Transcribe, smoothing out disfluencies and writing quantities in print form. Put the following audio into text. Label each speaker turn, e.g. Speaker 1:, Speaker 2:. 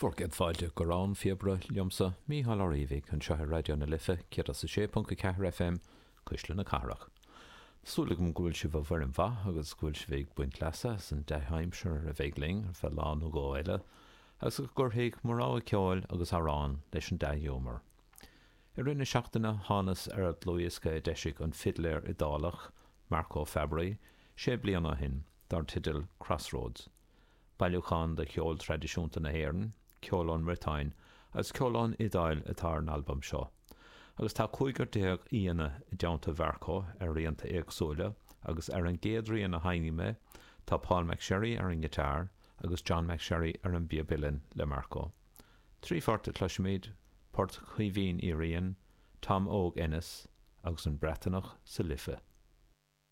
Speaker 1: Bhur gcéad fáilte go Rann Phíobaire liomsa, Mícheál Ó Riabhaigh, anseo ar Raidió na Life 106.4 FM, Cuisle na Cathrach. Tá súil agam go bhfuil sibh i bhfoirm mhaith agus go bhfuil sibh ag baint leasa as an dea-aimsir a bheidh linn ar feadh lá nó dhó eile, agus go gcuirfidh mo rogha ceoil agus amhrán leis an dea-ghiúmar. I rith na seachtaine thánas ar dhlúthdhiosca a d'eisigh an fidléir Iodálach, Marco Fabbri, sé bliana ó shin, dar teideal Crossroads. Bailiúchán de cheol traidisiúnta na hÉireann, ceol ón mBriotáin agus ceol ón Iodáil atá ar an albam seo. Agus tá cúigear aíonna i dteannta Mharco ar rianta éagsúla agus ar an gcéad rian a sheinnfidh mé tá Paul McSherry ar an ngiotár agus John McSherry ar an bpíob uilleann le Marco. Trí phort a chloisfimid, Port Chaoimhín Uí Riain, Tom Óg Ennis agus An Breataineach sa Life.